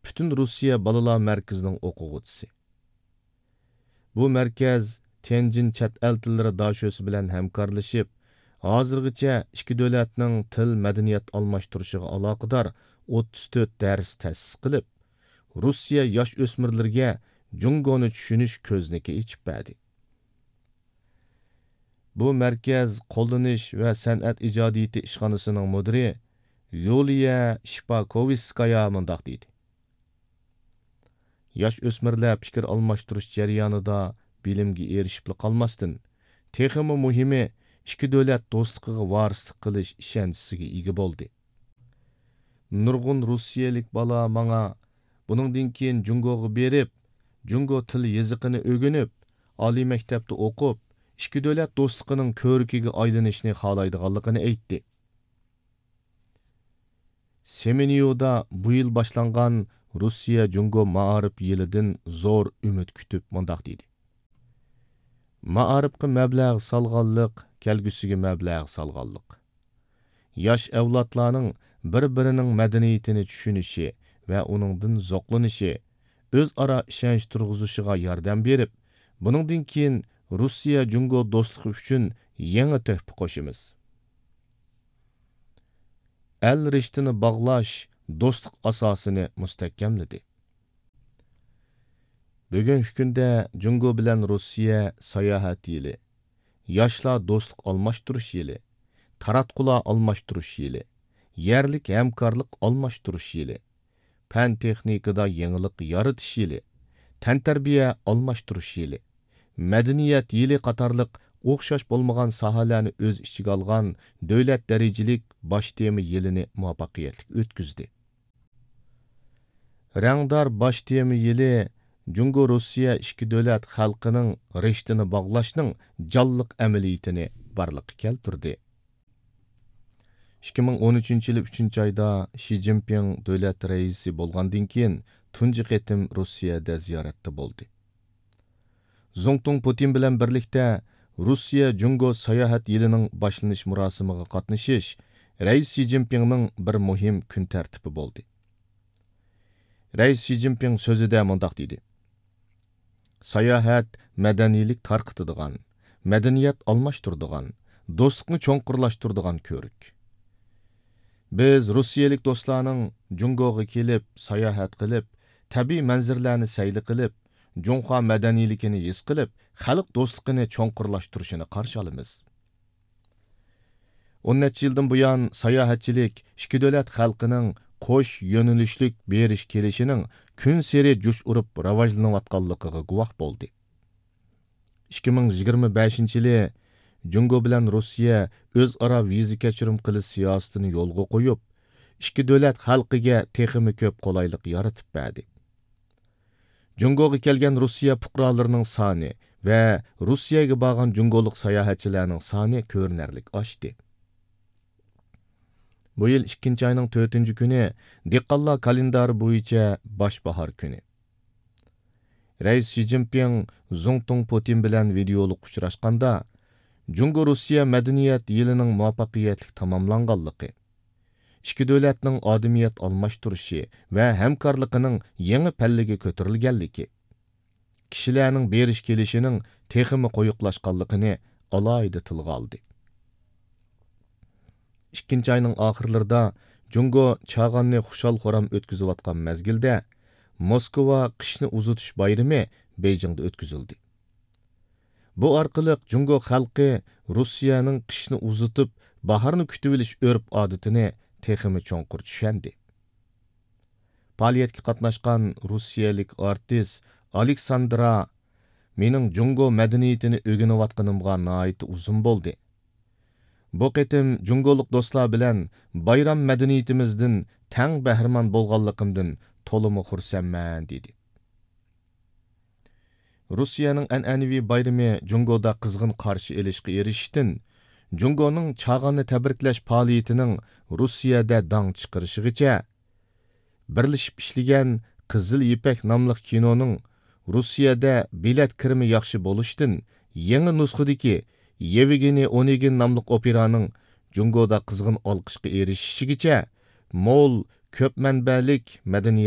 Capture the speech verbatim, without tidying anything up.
پۈتۈن روسىيە بالىلار مەركىزىنىڭ ئوقۇغۇچىسى. بۇ مەركەز تيەنجىن چەت ئەل تىللىرى داشۆسى بىلەن ھەمكارلىشىپ، ھازىرغىچە ئىككى دۆلەتنىڭ تىل، مەدەنىيەت ئالماشتۇرۇشىغا ئالاقىدار ئوتتۇز تۆت دەرس تەسىس قىلىپ، روسىيە ياش ئۆسمۈرلىرىگە جۇڭگونى چۈشىنىش كۆزنىكى ئېچىپ بەردى. بۇ مەركەز قوللىنىش ۋە سەنئەت ئىجادىيىتى ئىشخانىسىنىڭ مۇدىرى يۇلىيە شىپاكوۋىسكايا مۇنداق دېدى: ياش ئۆسمۈرلەر پىكىر ئالماشتۇرۇش جەريانىدا بىلىمگە ئېرىشىپلا قالماستىن، تېخىمۇ مۇھىمى، ئىككى دۆلەت دوستلۇقىغا ۋارىسلىق قىلىش ئىشەنچىسىگە ئىگە بولدى. نۇرغۇن روسىيەلىك بالا ماڭا بۇنىڭدىن كېيىن جۇڭگوغا بېرىپ، جۇڭگو تىل يېزىقىنى ئۆگىنىپ، ئالىي مەكتەپتە ئوقۇپ، ئىككى دۆلەت دوستلۇقىنىڭ كۆۋرۈكىگە ئايلىنىشنى خالايدىغانلىقىنى ئېيتتى. سېمېنيۇدا بۇ يىل باشلانغان روسىيە جۇڭگو مائارىپ يىلىدىن زور ئۈمىد كۈتۈپ مۇنداق دېدى: مائارىپقا مەبلەغ سالغانلىق، كەلگۈسىگە مەبلەغ سالغانلىق. ياش ئەۋلادلارنىڭ بىر-بىرىنىڭ مەدەنىيىتىنى چۈشىنىشى ۋە ئۇنىڭدىن زوقلىنىشى، ئۆزئارا ئىشەنچ تۇرغۇزۇشىغا ياردەم بېرىپ، بۇنىڭدىن كېيىن روسىيە جۇڭگو دوستلۇقى ئۈچۈن يېڭى تۆھپە قوشىمىز. ئەل رىشتىنى باغلاش دوستلۇق ئاساسىنى مۇستەھكەملىدى. بۈگۈنكى كۈندە جۇڭگو بىلەن روسىيە ساياھەت يىلى، ياشلار دوستلۇق ئالماشتۇرۇش يىلى، تاراتقۇلار ئالماشتۇرۇش يىلى، يەرلىك ھەمكارلىق ئالماشتۇرۇش يىلى، پەن-تېخنىكىدا يېڭىلىق يارىتىش يىلى، تەنتەربىيە ئالماشتۇرۇش يىلى، مەدەنىيەت يىلى قاتارلىق ئوخشاش بولمىغان ساھەلەرنى ئۆز ئىچىگە ئالغان دۆلەت دەرىجىلىك باش تېما يىلىنى مۇۋەپپەقىيەتلىك ئۆتكۈزدى. رەڭدار باش تېما يىلى جۇڭگو روسىيە ئىككى دۆلەت خەلقىنىڭ رىشتىنى باغلاشنىڭ جانلىق ئەمەلىيىتىنى بارلىققا كەلتۈردى. ئىككى مىڭ ئون ئۈچىنچى يىلى ئۈچىنچى ئايدا شى جىنپىڭ دۆلەت رەئىسى بولغاندىن كېيىن تۇنجى قېتىم روسىيەدە زىيارەتتە بولدى. زۇڭتۇڭ پۇتىن بىلەن بىرلىكتە روسىيە جۇڭگو ساياھەت يىلىنىڭ باشلىنىش مۇراسىمىغا قاتنىشىش رەئىس شى جىنپىڭنىڭ بىر مۇھىم كۈن تەرتىپى بولدى. رەئىس شى جىنپىڭ سۆزىدە مۇنداق دېدى: ساياھەت مەدەنىيلىك تارقىتىدىغان، مەدەنىيەت ئالماشتۇرىدىغان، دوستلۇقنى چوڭقۇرلاشتۇرىدىغان كۆۋرۈك. بىز روسىيەلىك دوستلارنىڭ جۇڭگوغا كېلىپ، ساياھەت قىلىپ، تەبىئىي مەنزىرىلەرنى سەيلە قىلىپ، جۇڭخۇا مەدەنىيلىكىنى ھېس قىلىپ، خەلق دوستلۇقىنى چوڭقۇرلاشتۇرۇشىنى قارشى ئالىمىز. ئون نەچچە يىلدىن بۇيان، ساياھەتچىلىك ئىككى دۆلەت خەلقىنىڭ قوش يۆنىلىشلىك بېرىش كېلىشىنىڭ كۈنسېرى جۇش ئۇرۇپ راۋاجلىنىۋاتقانلىقىغا گۇۋاھ بولدى. ئىككى مىڭ يىگىرمە بەشىنچى يىلى جۇڭگو بىلەن روسىيە ئۆزئارا ۋىزا كەچۈرۈم قىلىش سىياسىتىنى يولغا قويۇپ، ئىككى دۆلەت خەلقىگە تېخىمۇ كۆپ قولايلىق يارىتىپ بەردى. جۇڭگوغا كەلگەن روسىيە پۇقرالىرىنىڭ سانى ۋە روسىيەگە بارغان جۇڭگولۇق ساياھەتچىلەرنىڭ سانى كۆرۈنەرلىك ئاشتى. بۇ يىل ئىككىنچى ئاينىڭ تۆتىنچى كۈنى دېھقانلار كالېندارى بويىچە باش باھار كۈنى. رەئىس شى جىنپىڭ زۇڭتۇڭ پۇتىن بىلەن ۋىدېئولۇق ئۇچراشقاندا، جۇڭگو روسىيە مەدەنىيەت يىلىنىڭ مۇۋەپپەقىيەتلىك تاماملانغانلىقى، ئىككى دۆلەتنىڭ ئادىمىيەت ئالماشتۇرۇشى ۋە ھەمكارلىقىنىڭ يېڭى پەللىگە كۆتۈرۈلگەنلىكى، كىشىلەرنىڭ بېرىش كېلىشىنىڭ تېخىمۇ قويۇقلاشقانلىقىنى ئالاھىدە تىلغا ئالدى. ئىككىنچى ئاينىڭ ئاخىرلىرىدا جۇڭگو چاغاننى خۇشال-خۇرام ئۆتكۈزۈۋاتقان مەزگىلدە، موسكۋا قىشنى ئۇزىتىش بايرىمى بېيجىڭدا ئۆتكۈزۈلدى. بۇ ئارقىلىق جۇڭگو خەلقى روسىيەنىڭ قىشنى ئۇزىتىپ، باھارنى كۈتۈۋېلىش ئۆرپ-ئادىتىنى تېخىمۇ چوڭقۇر چۈشەندى. پائالىيەتكە قاتناشقان روسىيەلىك ئارتىس ئالېكساندرا مېنىڭ جۇڭگو مەدەنىيىتىنى ئۆگىنىۋاتقىنىمغا ناھايىتى ئۇزۇن بولدى. بۇ قېتىم جۇڭگولۇق دوستلار بىلەن بايرام مەدەنىيىتىمىزدىن تەڭ بەھرىمەن بولغانلىقىمدىن تولىمۇ خۇرسەنمەن، دېدى. روسىيەنىڭ ئەنئەنىۋى بايرىمى جۇڭگودا قىزغىن قارشى ئېلىشقا ئېرىشىشتىن، جۇڭگونىڭ چاغاننى تەبرىكلەش پائالىيىتىنىڭ روسىيەدە داڭ چىقىرىشىغىچە، بىرلىشىپ ئىشلىگەن قىزىل يىپەك ناملىق كىنونىڭ روسىيەدە بېلەت كىرىمى ياخشى بولۇشتىن، يېڭى نۇسخىدىكى يېۋگېنىي ئونېگىن ناملىق ئوپېرانىڭ جۇڭگودا قىزغىن ئالقىشقا ئېرىشىشىگىچە مول، كۆپ مەنبەلىك مەدەنىيەت